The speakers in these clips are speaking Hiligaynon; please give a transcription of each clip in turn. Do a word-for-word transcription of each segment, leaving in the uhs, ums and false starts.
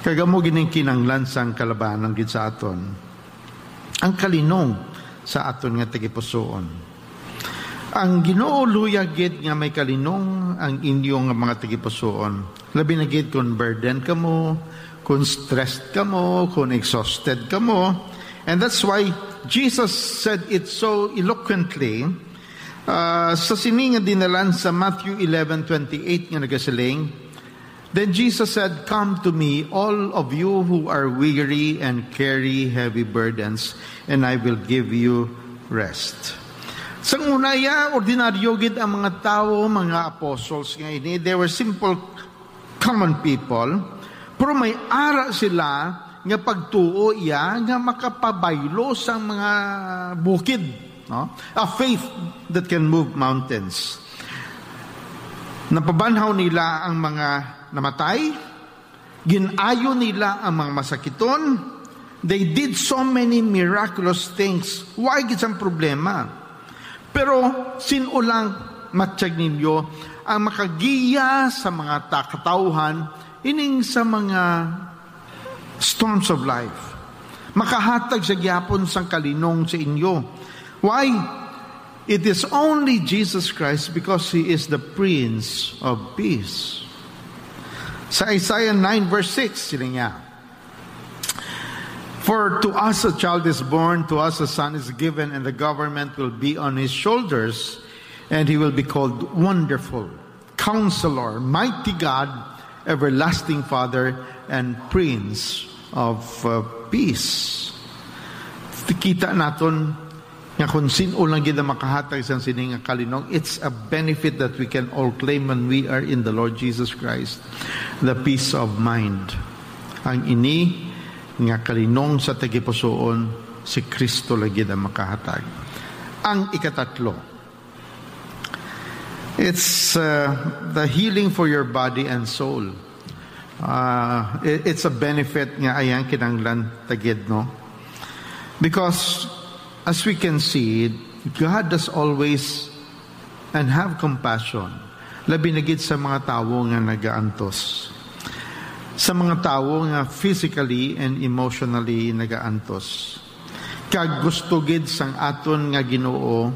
Kag amo gid ang kinahanglan sang kalabanan gid sa aton, ang kalinong sa aton nga tagipusoon. Ang Ginoo luyag gid nga may kalinong ang inyo nga mga tagipusoon, labi na gid kon burden kamo, kon stressed kamo, kon exhausted kamo. And that's why Jesus said it so eloquently, uh, sa sini nga dinalan sa Matthew eleven twenty-eight nga nagasiling, Then Jesus said, "Come to me, all of you who are weary and carry heavy burdens, and I will give you rest." Sang una, ya, ordinaryo gid ang mga tawo, mga apostles nga ini. They were simple, common people. Pero may ara sila nga pagtuo, ya, nga makapabaylo sang mga bukid, no? A faith that can move mountains. Napabanhaw nila ang mga namatay, gin-ayo nila ang mga masakiton. They did so many miraculous things. Why gid sang problema? Pero sin-o lang matyag ninyo ang makagiya sa mga ta-, katawhan ining sa mga storms of life, makahatag sa gyapon sang kalinong sa inyo. Why? It is only Jesus Christ, because He is the Prince of Peace. Sa Isaiah nine verse six, sila niya, "For to us a child is born, to us a son is given, and the government will be on his shoulders, and he will be called Wonderful, Counselor, Mighty God, Everlasting Father, and Prince of, uh, Peace." Kita naton nga kung sin-o lang gid ang makahatag sang sini nga kalinong, it's a benefit that we can all claim when we are in the Lord Jesus Christ. The peace of mind. Ang ini nga kalinong sa tagipusoon, si Kristo lang gid ang makahatag. Ang ikatatlo, it's, uh, the healing for your body and soul. Uh, i-, it's a benefit nga ayang kinahanglan ta gid, no? Because as we can see, God does always and have compassion, labi na gid sa mga tawo nga nagaantos, sa mga tawo nga physically and emotionally nagaantos. Kag gusto gid sang aton nga Ginoo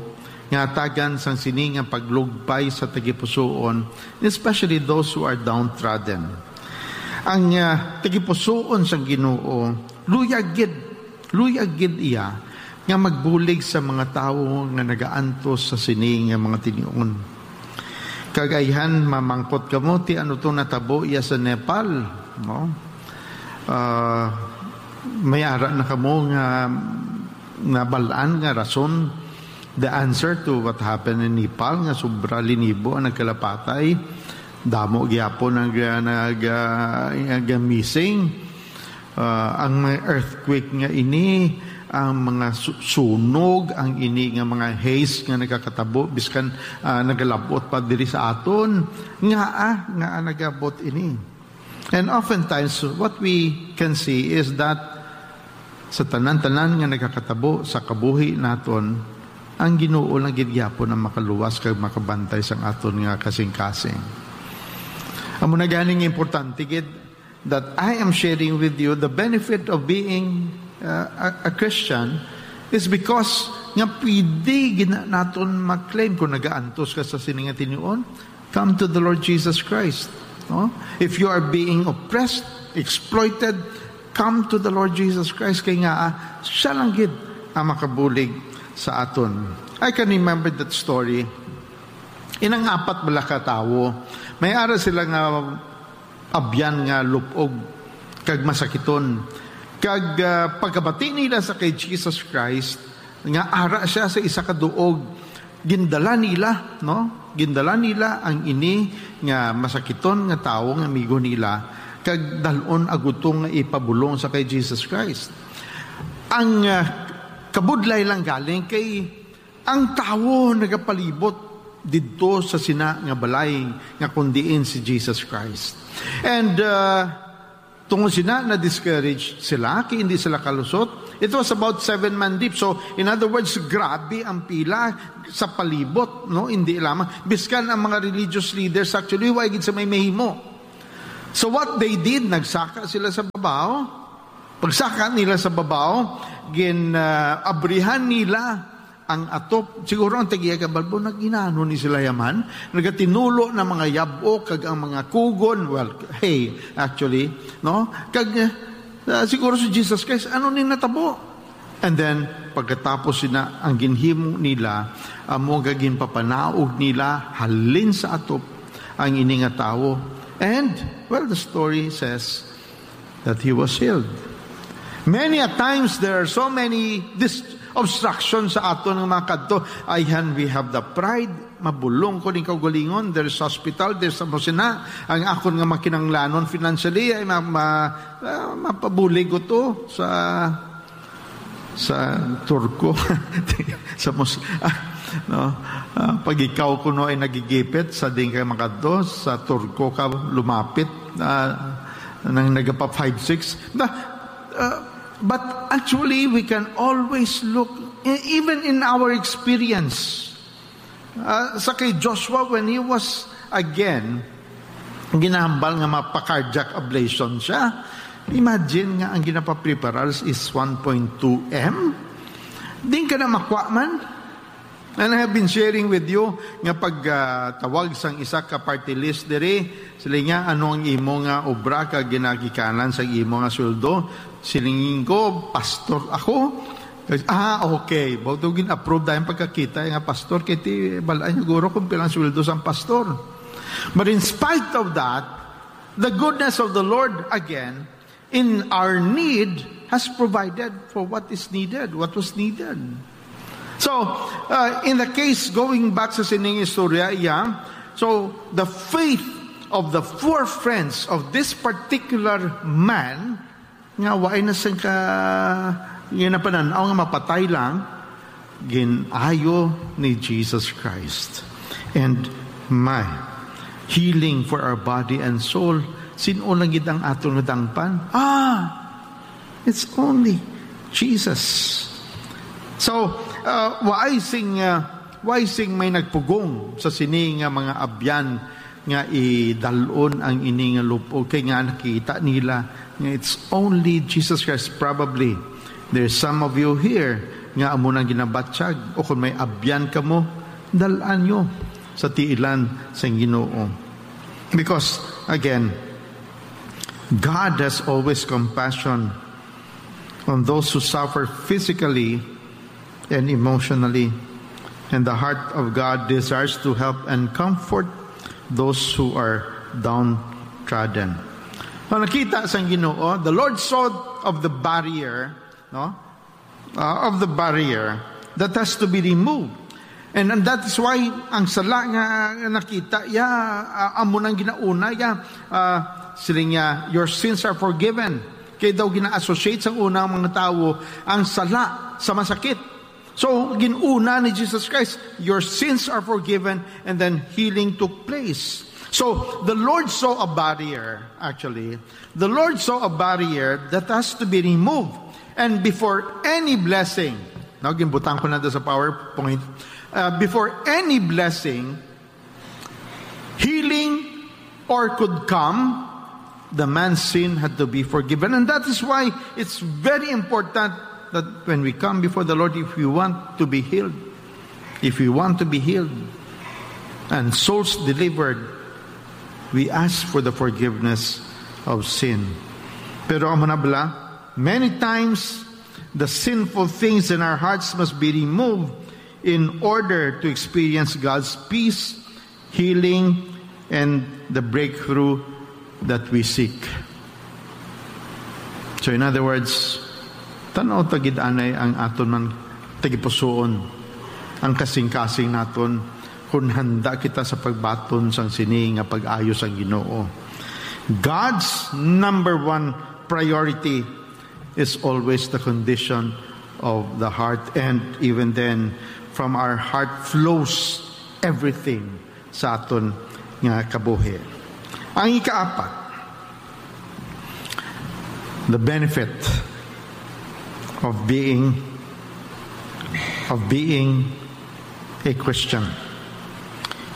nga hatagan sang sini nga paglugpay sa tagipusoon, especially those who are downtrodden. Ang, ah, tagipusoon sang Ginoo, luyag gid, luyag gid iya nga magbulig sa mga tawo nga nagaantos sa sini nga mga tinion. Kag ayhan, mamangkot kamo, ti ano to natabo iya sa Nepal, no? Ah, may ara na kamo nga nabal-an nga rason, the answer to what happened in Nepal, nga sobra linibo ang nagkalapatay, damo gyapon ang ga-, nag-, ah, nag-missing. Ah, ang mga earthquake nga ini, ang mga su-, sunog, ang ini nga mga haze nga nagakatabo, biskan, ah, nagalabot pa diri sa aton, ngaa, ngaa nagabot ini. And oftentimes, what we can see is that sa tanan-tanan nga nagakatabo sa kabuhi naton, ang Ginoo lang gid gyapon ang makaluwas kag makabantay sang aton nga kasing-kasing. Amo na gani nga importante gid that I am sharing with you the benefit of being, uh, a, a Christian is because nga pwede gina-, naton ma-claim kung nagaantos ka sa sini nga tinion, come to the Lord Jesus Christ. No? If you are being oppressed, exploited, come to the Lord Jesus Christ. Kay nga, ah, siya lang gid ang makabulig sa aton. I can remember that story. Inang apat bala ka tawo, may ara sila nga abyan nga lupog kag masakiton. Kag, ah, pagkabati nila sa kay Jesus Christ, nga ara siya sa isa ka duog, gindala nila, no? Gindala nila ang ini nga masakiton nga tawo nga amigo nila, kag dal-on agutong nga ipabulong sa kay Jesus Christ. Ang, ah, kabudlay lang galing kay ang tawo nagapalibot didto sa sina nga balay nga kon diin si Jesus Christ. And, uh, tungod sina, na-discourage sila, kay hindi sila kalusot. It was about seven man deep. So, in other words, grabe ang pila sa palibot, no? Hindi lamang. Biskan ang mga religious leaders, actually, wa gid sa may mahimo. So what they did, nagsaka sila sa babaw. Pagsaka nila sa babaw, gin, ah, abrihan nila ang atop. Siguro ang tagiya ka balbo, naginaano ni sila yaman, nagatinulo na mga yab-ok kag ang mga kugon. Well, hey, actually, no? Kag, ah, siguro si Jesus Christ, ano ni natabo? And then, pagkatapos sina, ang ginhimo nila, amo nga ginpapanaog nila halin sa atop ang ini nga tawo. And, well, the story says that he was healed. Many a times, there are so many dis-, obstructions sa aton nga mga kadto. Ayhan, we have the pride, mabulong ko ning kaugalingon, there's hospital, there's amo sina, ang akon nga makinanglanon financially ay ma-, ma-, ah, mapabulig ko to sa, sa Turko. Sa mus-, ah, no? Ah, pag ikaw kuno ay nagigipit sa din ka makadto, sa Turko ka lumapit, ah, nang nagapa five six. Na, ah, but actually, we can always look, e-, even in our experience, ah, sa kay Joshua, when he was again ginahambal nga mapa-cardiac ablation siya, imagine nga ang ginapapreparar is one point two M. Din ka na makwa man. And I have been sharing with you nga pag, ah, tawag sang isa ka party list diri, sila nga, "Ano ang imo nga obra kag ginagikanan sa imo nga sweldo?" Siling ko, "Pastor ako." Ah, okay. Bago gin-approve dahil pagkakita nga pastor, kay ti balaan niyo guro kung pilang sweldo sang pastor. But in spite of that, the goodness of the Lord, again, in our need, has provided for what is needed, what was needed. So, uh, in the case, going back sa sining istorya, yeah, so the faith of the four friends of this particular man nga waay na sing ka-, ginapanan-aw nga mapatay lang, gin-ayo ni Jesus Christ. And my healing for our body and soul, sin-o lang gid ang aton nga dangpan? Ah, it's only Jesus. So, uh, waay sing, uh, waay sing may nagpugong sa sini nga mga abyan nga idalon ang ini nga lupog, kay nga nakita nila nga it's only Jesus Christ. Probably, there's some of you here nga amo nang ginabatyag, o kung may abyan kamo, dal-an nyo sa tiilan sang Ginoo. Because, again, God has always compassion on those who suffer physically and emotionally. And the heart of God desires to help and comfort those who are downtrodden. Ang nakita sang Ginoo, the Lord saw of the barrier, no? Uh, of the barrier that has to be removed. And, and that is why ang sala nga nakita, ya, uh, amo nang ginauna, ya, uh, siling niya, "Your sins are forgiven." Kay daw gina-associate sa una ang mga tawo ang sala sa masakit. So, ginuna ni Jesus Christ, "Your sins are forgiven," and then healing took place. So, the Lord saw a barrier, actually. The Lord saw a barrier that has to be removed. And before any blessing, now, ginbutang ko na doon sa PowerPoint, uh, before any blessing, healing or could come, the man's sin had to be forgiven. And that is why it's very important that when we come before the Lord, if we want to be healed, if we want to be healed and souls delivered, we ask for the forgiveness of sin. Pero amo na bala, many times, the sinful things in our hearts must be removed in order to experience God's peace, healing, and the breakthrough that we seek. So, in other words, tan-aw ta gid anay ang aton man tagipusoon, ang kasing-kasing naton, kung handa kita sa pagbaton sang sini nga pag-ayo sang Ginoo. God's number one priority is always the condition of the heart, and even then, from our heart flows everything sa aton nga kabuhi. Ang ikaapat, the benefit of being, of being a Christian.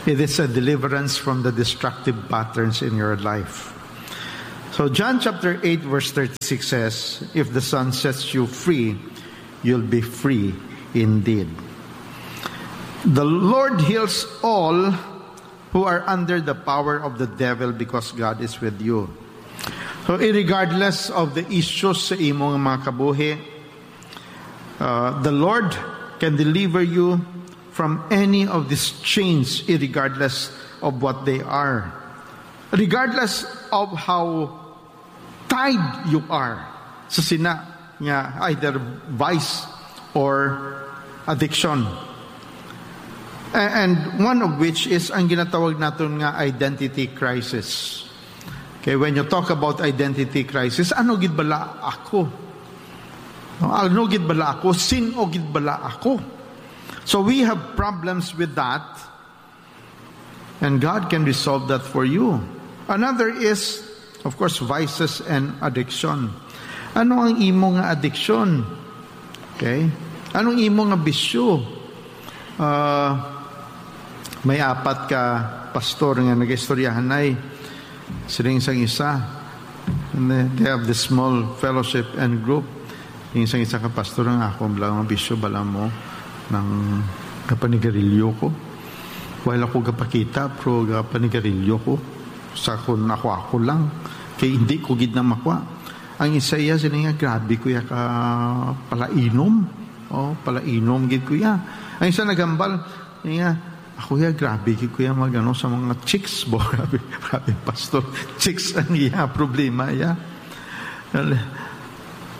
It is a deliverance from the destructive patterns in your life. So John chapter eight verse thirty-six says, "If the Son sets you free, you'll be free indeed." The Lord heals all who are under the power of the devil because God is with you. So, regardless of the issues sa imo nga mga kabuhi, uh, the Lord can deliver you from any of these chains, regardless of what they are, regardless of how tied you are sa sina nga either vice or addiction. A-, and one of which is ang ginatawag naton nga identity crisis. Okay, when you talk about identity crisis, ano gid bala ako? No, ano gid bala ako? Sin-o gid bala ako? So we have problems with that, and God can resolve that for you. Another is, of course, vices and addiction. Ano ang imo nga addiction? Okay? Anong imo nga bisyo? Ah, may apat ka pastor nga nag-istoryahanay. Siling sang isa, and they, they have this small fellowship and group. Siling sang isa ka pastor, "Ang akon lang nga bisyo, bala mo, nang kapanigarilyo ko. Wala ko gapakita, pero gapanigarilyo ko. Sa akon, ako-ako lang. Kay hindi ko gid na makwa." Ang isa iya, siling niya, "Grabe ko ya ka palainom. Oh, palainom gid ko ya." Ang isa naghambal, siling niya, "Ako ya, grabe gid ko ya mag-ano sa mga chicks, bo." Grabe, grabe, pastor. Chicks ang iya problema, ya.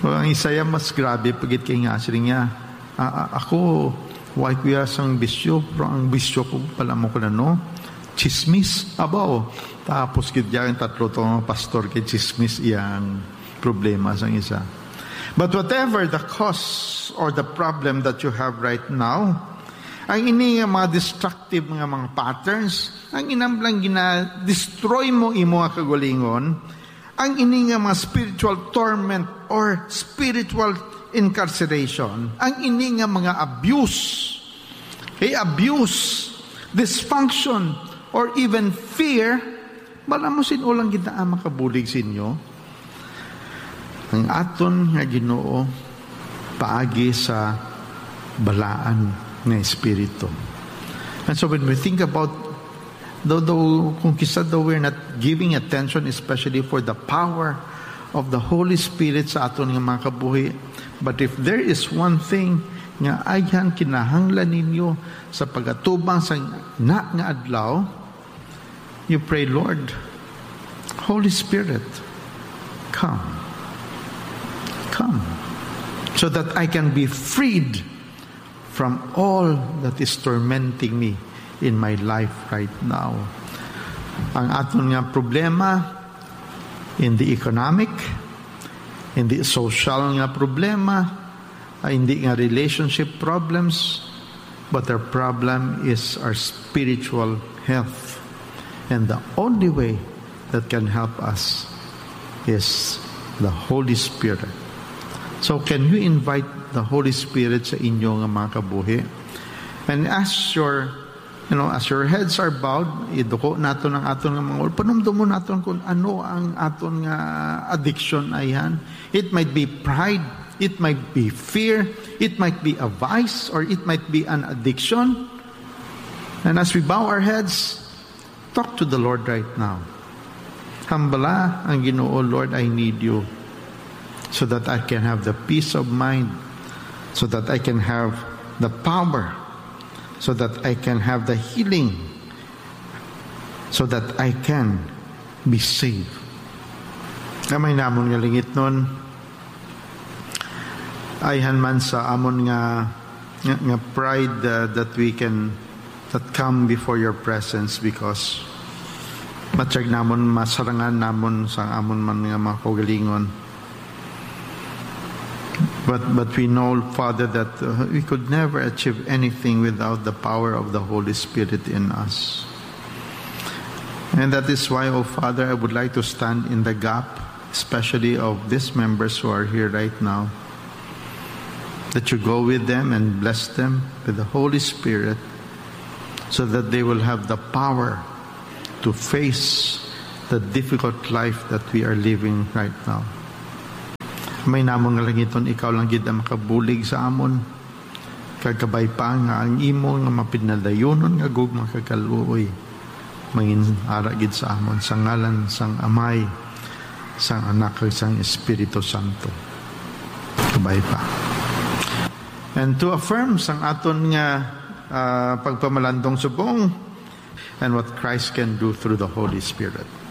Ang isa ya mas grabe pa gid kay nga, siling niya, "A-, a-, ako, wala ko ya sang bisyo, pero ang bisyo ko pala mo ko na, no? Chismis, abaw." Tapos gid ya ang tatlo to nga pastor kay chismis iyang problema sang isa. But whatever the cause or the problem that you have right now, ang ini nga mga destructive nga mga patterns, ang inam lang gina-destroy mo imo nga kagalingon, ang ini nga mga spiritual torment or spiritual incarceration, ang ini nga mga abuse, okay, abuse, dysfunction, or even fear, bala mo sin-o lang gid na makabulig sa inyo? Ang aton nga Ginoo paagi sa balaan nga espiritu. And so when we think about, though, though kung kisa daw we're not giving attention especially for the power of the Holy Spirit sa aton nga mga kabuhi, but if there is one thing nga ayhan kinahanglan ninyo sa pagatubang sa na nga adlaw, you pray, "Lord, Holy Spirit, come. Come, so that I can be freed from all that is tormenting me in my life right now." Ang aton nga problema, hindi economic, hindi social nga problema, ah, hindi nga relationship problems, but our problem is our spiritual health. And the only way that can help us is the Holy Spirit. So can you invite the Holy Spirit sa inyo nga mga kabuhi? And as your, you know, as your heads are bowed, iduko naton ang aton nga mga ulo. Panumdumon naton kung ano ang aton nga addiction ayhan. It might be pride, it might be fear, it might be a vice, or it might be an addiction. And as we bow our heads, talk to the Lord right now. Hambala ang Ginoo, "Lord, I need you so that I can have the peace of mind, so that I can have the power, so that I can have the healing, so that I can be saved." Amay namon nga langitnon, ayhan man sa amon nga, nga, nga pride, uh, that we can, that come before your presence, because matyag namon masarangan namon sa amon man nga mga kaugalingon. But, but we know, Father, that, uh, we could never achieve anything without the power of the Holy Spirit in us. And that is why, oh Father, I would like to stand in the gap, especially of these members who are here right now, that you go with them and bless them with the Holy Spirit, so that they will have the power to face the difficult life that we are living right now. Amay namon nga langiton, ikaw lang gid ang makabulig sa amon. Kag kabay pa nga ang imo nga mapinadayunon nga gugma kag kaluoy mangin ara gid sa amon, sa ngalan sang Amay, sang Anak, kag sang Espiritu Santo. Kabay pa. And to affirm sang aton nga, ah, pagpamalandong subong, and what Christ can do through the Holy Spirit.